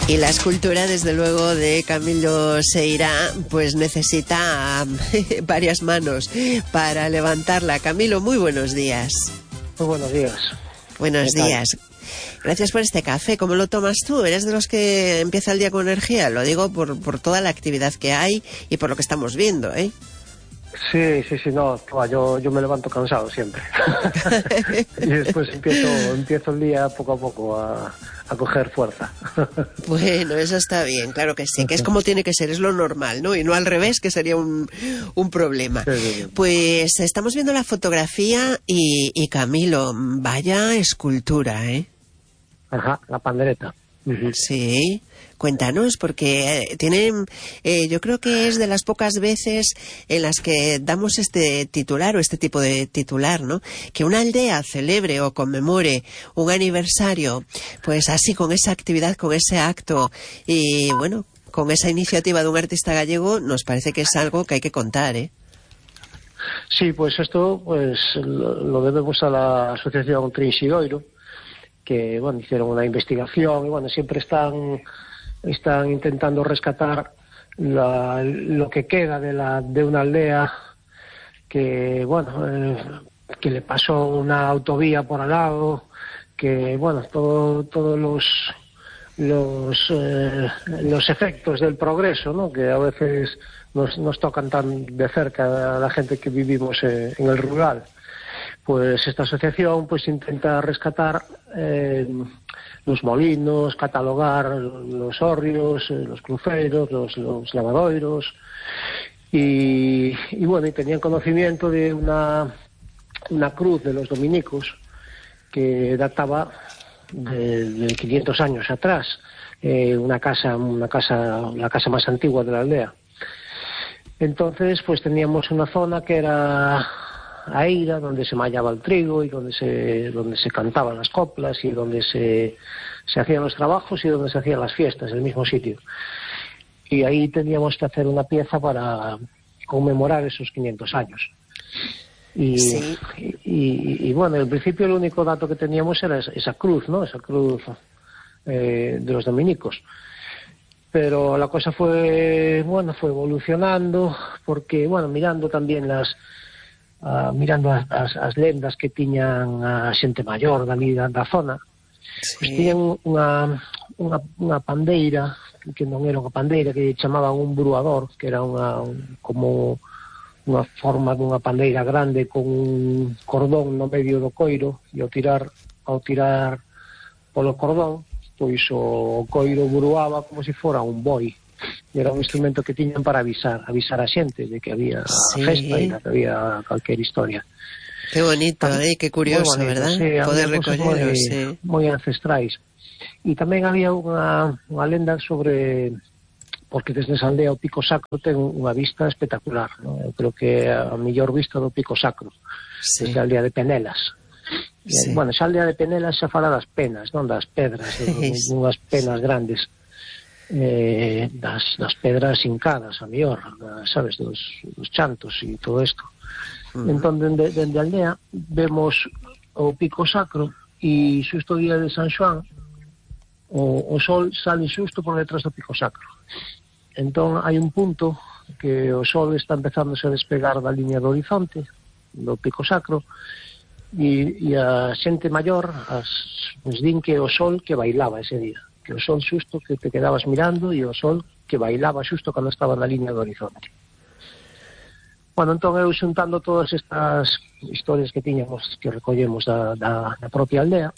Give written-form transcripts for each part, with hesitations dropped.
Y la escultura, desde luego, de Camilo Seira, pues necesita varias manos para levantarla. Camilo, muy buenos días. Muy buenos días. Buenos días. Gracias por este café. ¿Cómo lo tomas tú? ¿Eres de los que empieza el día con energía? Lo digo por toda la actividad que hay y por lo que estamos viendo, ¿eh? Sí, no, yo me levanto cansado siempre. Y después empiezo el día poco a poco a coger fuerza. Bueno, eso está bien, claro que sí, que es como tiene que ser, es lo normal, ¿no? Y no al revés, que sería un problema. Sí. Pues estamos viendo la fotografía y Camilo, vaya escultura, ¿eh? Ajá, la pandereta. Sí, cuéntanos, porque yo creo que es de las pocas veces en las que damos este titular o este tipo de titular, ¿no? Que una aldea celebre o conmemore un aniversario, pues así, con esa actividad, con ese acto y, bueno, con esa iniciativa de un artista gallego, nos parece que es algo que hay que contar, ¿eh? Sí, pues esto pues lo debemos a la asociación Trinxidoiro, que, bueno, hicieron una investigación y, bueno, siempre están intentando rescatar lo que queda de una aldea que, bueno, que le pasó una autovía por al lado, que, bueno, todos los efectos del progreso, ¿no?, que a veces nos tocan tan de cerca a la gente que vivimos en el rural. Pues esta asociación pues intenta rescatar los molinos, catalogar los hórreos, los cruceiros, los lavadoiros y bueno, y tenían conocimiento de una cruz de los dominicos que databa de 500 años atrás, la casa más antigua de la aldea. Entonces pues teníamos una zona que era a Eira, donde se mallaba el trigo y donde se cantaban las coplas y donde se hacían los trabajos y donde se hacían las fiestas, en el mismo sitio. Y ahí teníamos que hacer una pieza para conmemorar esos 500 años. Sí. Y bueno, en principio el único dato que teníamos era esa cruz, ¿no? Esa cruz de los dominicos. Pero la cosa fue evolucionando, porque, bueno, mirando tamén mirando as lendas que tiñan a xente maior da zona, Sí. Pues tiñan unha pandeira, que non era unha pandeira, que chamaban un bruador, que era como unha forma dunha pandeira grande con un cordón no medio do coiro, e ao tirar polo cordón, pois o coiro bruaba como se fora un boi. Era un instrumento que tiñan para avisar a xente de que había festa e que había calquer historia. Qué bonito, qué curioso, bonito, ¿verdad? Sí, poder recollerlo, sí. Moi ancestrais. E tamén había unha lenda sobre, porque desde esa aldea o Pico Sacro ten unha vista espectacular, ¿no? Eu creo que é a mellor vista do Pico Sacro, sí, desde a aldea de Penelas. Sí. Bueno, esa aldea de Penelas xa fala das penas, non das pedras, unhas penas grandes. Das pedras hincadas, a mellor, sabes, dos chantos e todo isto. Entón, dende a aldea vemos o Pico Sacro e xusto o día de San Xoán o sol sale xusto por detrás do Pico Sacro. Entón hai un punto que o sol está empezándose a despegar da liña do horizonte do Pico Sacro e a xente maior nos din que o sol que bailaba ese día, que o sol xusto que te quedabas mirando e o sol que bailaba xusto cando estaba na liña do horizonte. Bueno, entón eu xuntando todas estas historias que tiñamos, que recollemos da propia aldea,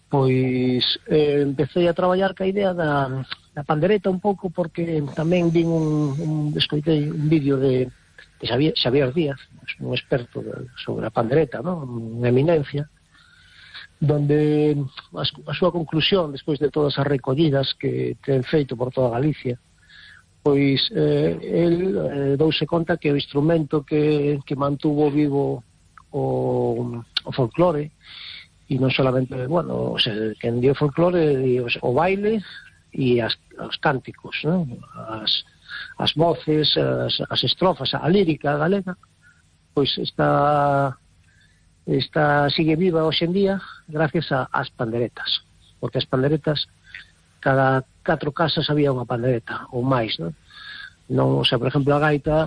pois empecé a traballar ca idea da pandereta un pouco, porque tamén vin escoitei un vídeo de Xavier Díaz, un experto sobre a pandereta, ¿no?, unha eminencia, donde a súa conclusión, despois de todas as recollidas que ten feito por toda Galicia, pois el douse conta que o instrumento que mantuvo vivo o folclore, e non solamente, bueno, o sea, que dio folclore, o baile e os cánticos, ¿no?, as voces, as estrofas, a lírica galega, pois sigue viva hoxe en día gracias ás panderetas, porque as panderetas cada 4 casas había unha pandereta ou máis, non? Non, o sea, por exemplo, a gaita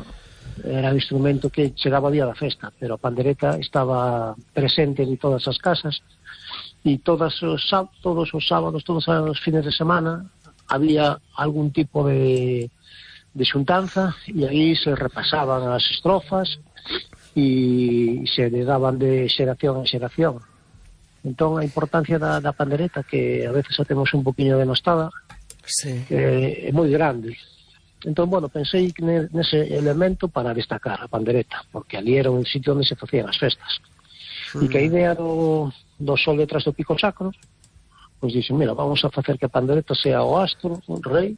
era o instrumento que chegaba a día da festa, pero a pandereta estaba presente en todas as casas, e todos os sábados, todos os fines de semana había algún tipo de xuntanza, e aí se repasaban as estrofas e se daban de xeración en xeración. Entón, a importancia da pandereta, que a veces a temos un poquinho denostada, sí, é moi grande. Entón, bueno, pensei nese elemento para destacar a pandereta, porque ali era un sitio onde se facían as festas. E que a idea do sol detrás do pico sacro, pois dixen, mira, vamos a facer que a pandereta sea o astro, o rei,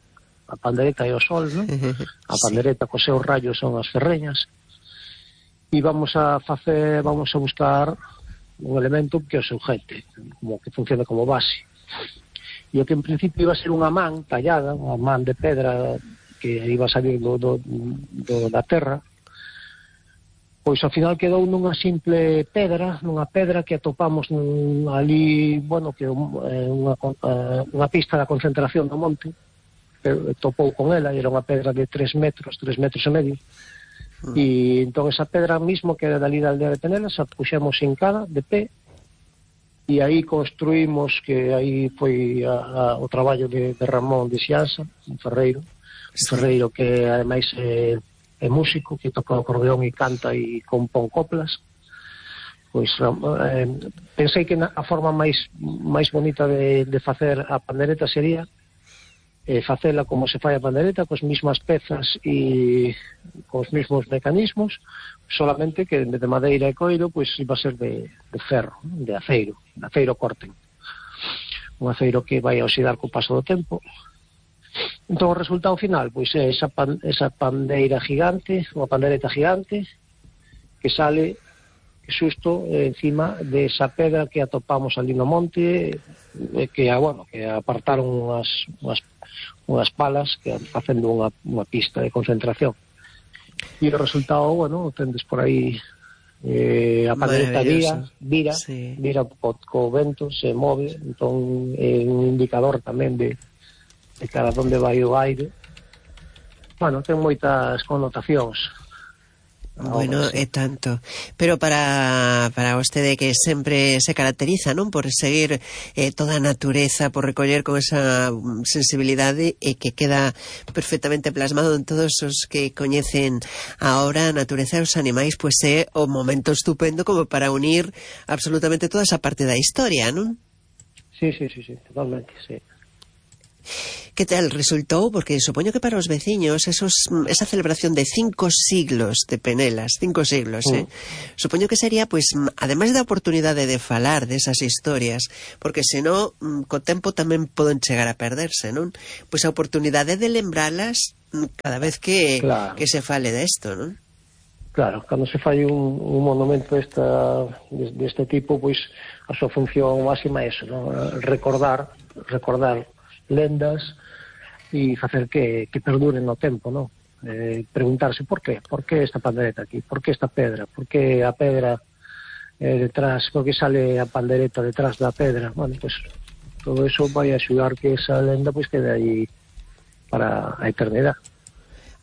a pandereta é o sol, non? A pandereta cos seus rayos son as ferreñas, e vamos a buscar un elemento que é o seu gente, como que funcione como base. E o que en principio iba a ser unha man tallada, unha man de pedra que iba a salir da terra, pois ao final quedou nunha simple pedra, que atopamos ali, bueno, que unha pista da concentración do monte, topou con ela, era unha pedra de 3 metros e medio, e entón esa pedra mismo que era dali da aldea de Penelas a puxemos hincada de pé, e aí construímos, que aí foi o traballo de Ramón de Xianza, un ferreiro que ademais é músico, que toca o acordeón e canta e compón coplas. Pois pensei que a forma máis bonita de facer a pandereta sería facela como se fai a pandereta, cos mismas pezas e cos mismos mecanismos, solamente que en vez de madeira e coiro, pois iba a ser de ferro, de aceiro corten, un aceiro que vai a oxidar co paso do tempo. Entón o resultado final, pois é esa pandeira gigante, unha pandereta gigante, que sale xusto encima de esa pedra que atopamos ali no monte, que apartaron unhas palas que facendo unha pista de concentración. E o resultado, bueno, tendes por aí a pandereta vira co vento, se move, entón é un indicador tamén de cara onde vai o aire. Bueno, ten moitas connotacións. Bueno, é tanto. Pero para vostede, que sempre se caracteriza, non, por seguir toda a natureza, por recoller con esa sensibilidade, e que queda perfectamente plasmado en todos os que coñecen ahora a natureza e os animais, pois é o momento estupendo como para unir absolutamente toda esa parte da historia, non? Sí, totalmente, sí. Que tal resultou? Porque supoño que para os veciños esa celebración de 5 siglos de Penelas, 5 siglos, supoño que sería, pois, ademais da oportunidade de falar desas historias, porque senón co tempo tamén poden chegar a perderse, non? Pois a oportunidade de lembralas cada vez que se fale desto, non? Claro, cando se fai un monumento deste tipo, pois a súa función máxima é eso, non? Recordar lendas e facer que perduren no tempo, non? Preguntarse por qué esta pandereta aquí, por qué esta pedra, por qué a pedra detrás, por qué sale a pandereta detrás da pedra. Bueno, pues todo eso vai a axudar que esa lenda pois quede aí para a eternidade.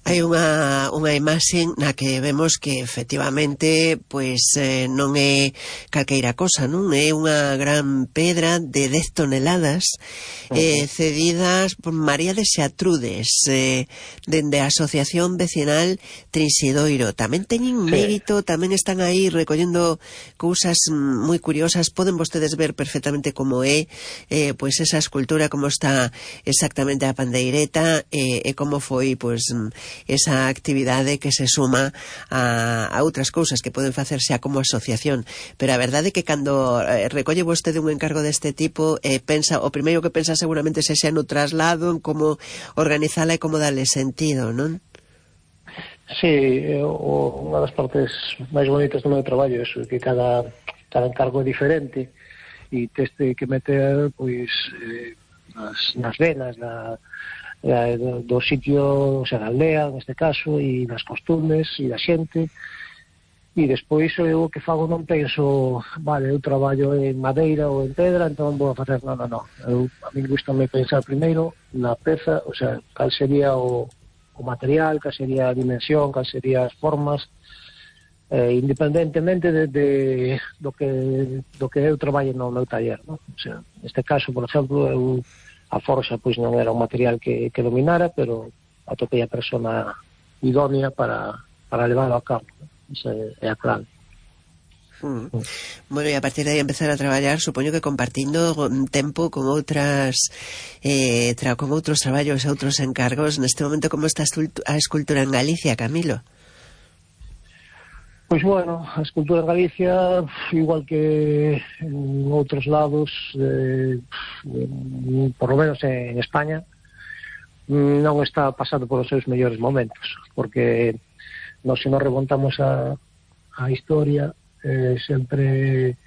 Hai unha imaxe na que vemos que efectivamente pois non é calqueira cosa, non? É unha gran pedra de 10 toneladas cedidas por María de Xatrudes, dende a Asociación Vecinal Trinsidoiro. Tamén teñen mérito, tamén están aí recollendo cousas moi curiosas. Poden vostedes ver perfectamente como é pois esa escultura, como está exactamente a pandeireta, e como foi pois esa actividade que se suma a outras cousas que poden facer xa como asociación. Pero a verdade é que cando recolle vostede un encargo deste tipo, o primeiro que pensa seguramente sexa no traslado, en como organizala e como darle sentido, non? Sí, unha das partes máis bonitas do meu traballo é que cada encargo é diferente e teste que meter pois nas venas do sitio, o sea, da aldea, neste caso, e das costumes e da xente, E despois eu o que fago non penso, vale, eu traballo en madeira ou en pedra, entón vou a facer, non. A mí gustame pensar primeiro na peza, o sea, cal sería o material, cal sería a dimensión, cal sería as formas, independentemente do que eu traballo no meu taller, non? O sea, neste caso, por exemplo, a forxa pois non era un material que dominara, pero atopei a persona idónea para leválo a cabo, non? Esa é a clave. Bueno, e a partir de aí empezar a traballar, supoño que compartindo tempo con outras con outros traballos e outros encargos. Neste momento, como está a escultura en Galicia, Camilo? Pois bueno, a escultura en Galicia, igual que en outros lados, por lo menos en España, non está pasando por os seus mellores momentos, porque se nos remontamos a historia, sempre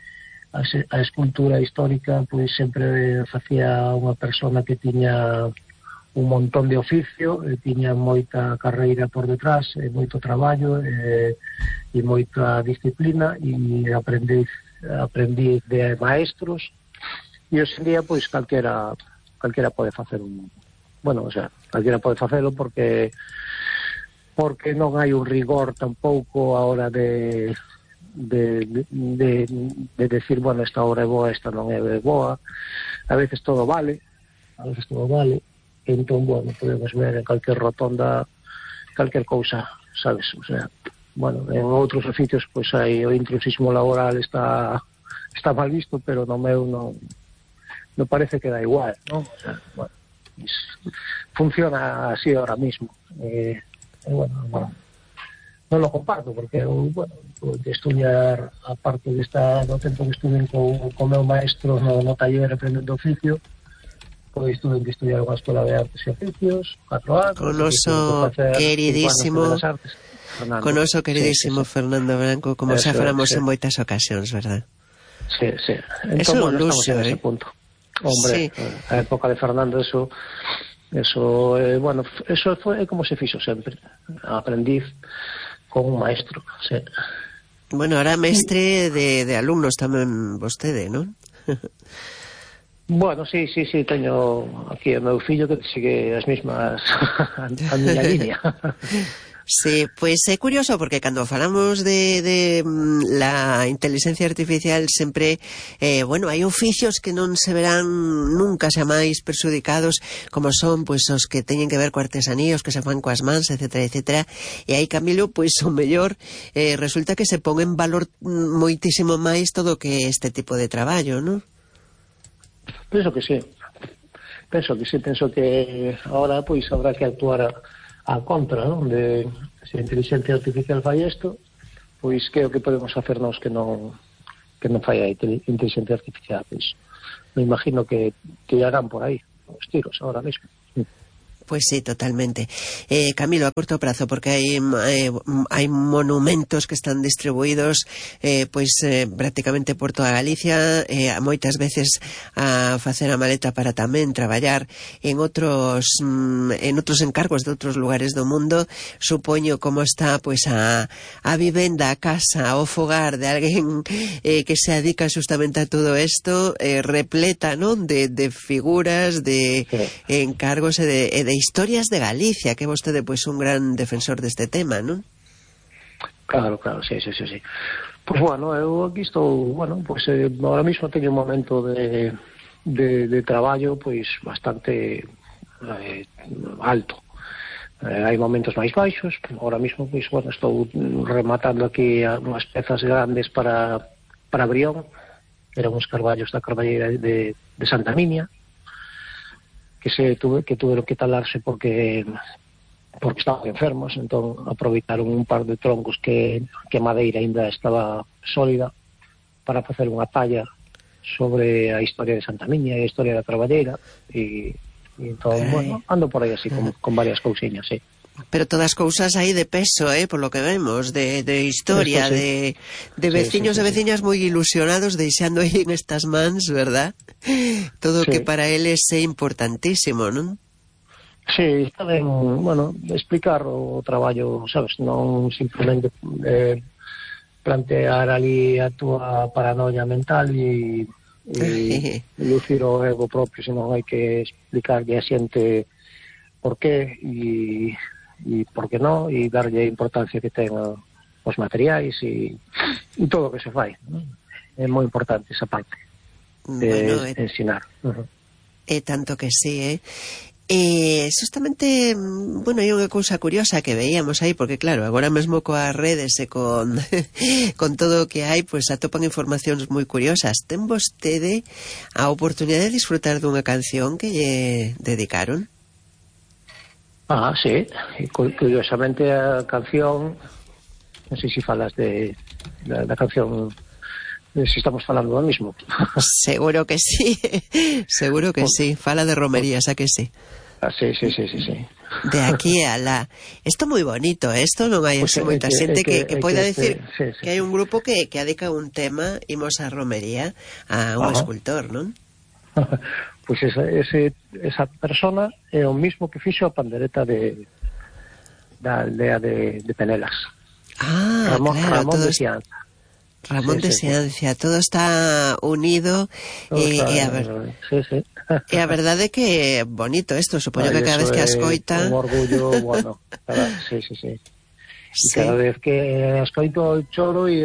a escultura histórica pois sempre facía unha persona que tiña un montón de oficio, tiña moita carreira por detrás, moito traballo e moita disciplina, e aprendi de maestros, e hoxe en día pois calquera pode facer calquera pode facelo porque non hai un rigor tampouco a hora de decir, bueno, esta obra é boa, esta non é boa. A veces todo vale, entón, bueno, podemos ver en calquer rotonda calquer cousa, sabes? O sea, bueno, en outros oficios pois hai o intrusismo laboral está mal visto, pero no meu non parece que da igual, non? O sea, bueno, funciona así ahora mismo. Bueno, non lo comparto, porque eu, bueno, de estudiar, aparte do tempo que estuve co meu maestro no taller aprendendo oficio, pois tuve que estudiar unha escola de artes e oficios, 4 anos. Con oso queridísimo Fernando Branco, como xa falamos en moitas ocasións, verdad? Sí. Entón, bueno, estamos en ese punto. Hombre, a época de Fernando, eso foi como se fixo sempre, aprendiz con un maestro, sí. Bueno, ahora mestre de alumnos tamén vostede, non? Bueno, sí, teño aquí o meu fillo que sigue as mesmas a miña línea. Sí, pois é curioso porque cando falamos de la inteligencia artificial sempre, bueno, hai oficios que non se verán nunca xa máis perxudicados, como son pois os que teñen que ver co artesanía, os que se fan coas mans, etcétera, e aí, Camilo, pois o mellor resulta que se pon en valor moitísimo máis todo o que é este tipo de traballo, non? Penso que sí. Penso que ahora pois habrá que actuar a contra, non? De se a inteligencia artificial fai isto, pois que é o que podemos facer nós que non fai a inteligencia artificial, pois me imagino que tirarán por aí os tiros ahora mesmo. Pues sí, totalmente. Camilo, a corto prazo, porque hai monumentos que están distribuídos prácticamente por toda Galicia, moitas veces a facer a maleta para tamén traballar en outros encargos de outros lugares do mundo. Supoño como está a vivenda, a casa, o fogar de alguén que se dedica justamente a todo isto, repleta, non, de figuras, de encargos e de historias de Galicia, que vostede pois un gran defensor deste tema, non? Claro, sí. Pois bueno, eu aquí estou, bueno, pois ahora mismo teño un momento de traballo pois bastante alto. Hai momentos máis baixos, ahora mismo pois bueno, estou rematando aquí unhas pezas grandes para Brión, eran uns carballos da Carballeira de Santa Minia, que tuveron que talarse porque estaban enfermos, entón aproveitaron un par de troncos que a madeira ainda estaba sólida para facer unha talla sobre a historia de Santa Miña e a historia da Carballeira, e entón, bueno, ando por aí así con varias cousiñas, sí. Pero todas cousas aí de peso, por lo que vemos, de historia, sí. de veciños e veciñas moi ilusionados deixando aí en estas mans, verdad? Todo que para eles é importantísimo, non? Sí, está ben, bueno, explicar o traballo, sabes, non simplemente plantear ali a túa paranoia mental e lucir o ego propio, senón hai que explicarlle a xente por qué e por que non, e darlle a importancia que ten os materiais e todo o que se fai, ¿no? É moi importante esa parte de ensinar. É tanto que sí, justamente, bueno, hai unha cousa curiosa que veíamos aí, porque claro, agora mesmo coas redes e con todo o que hai, pois atopan informacións moi curiosas. Ten vostede a oportunidade de disfrutar dunha canción que lle dedicaron? Sí, e curiosamente a canción, non sei se falas da canción, se estamos falando do mismo. Seguro que sí, seguro que sí. Fala de romerías, a que sí? Sí. De aquí a la... Isto moi bonito, isto non hai moita xente que poida decir que hai un grupo que adica un tema, imos a romería, a un escultor, non? Pois esa persona é o mismo que fixo a pandereta da aldea de Penelas. Ramón de Sianza. Ramón de Seancia, todo está unido e a verdade é que bonito isto, supoño que cada vez que ascoita un orgullo, bueno, sí. Cada vez que ascoito choro e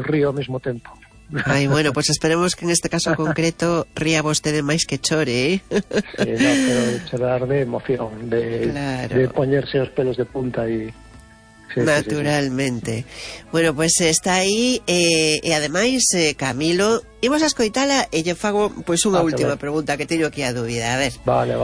río ao mesmo tempo. Ai, bueno, pues esperemos que en este caso concreto ría vostede máis que chore, Sí, no, pero chorar de emoción, de poñerse os pelos de punta e naturalmente. Bueno, pues está aí e ademais, Camilo, imos a escoitala e lle fago pois unha última pregunta que teño aquí a dúbida, a ver. Vale.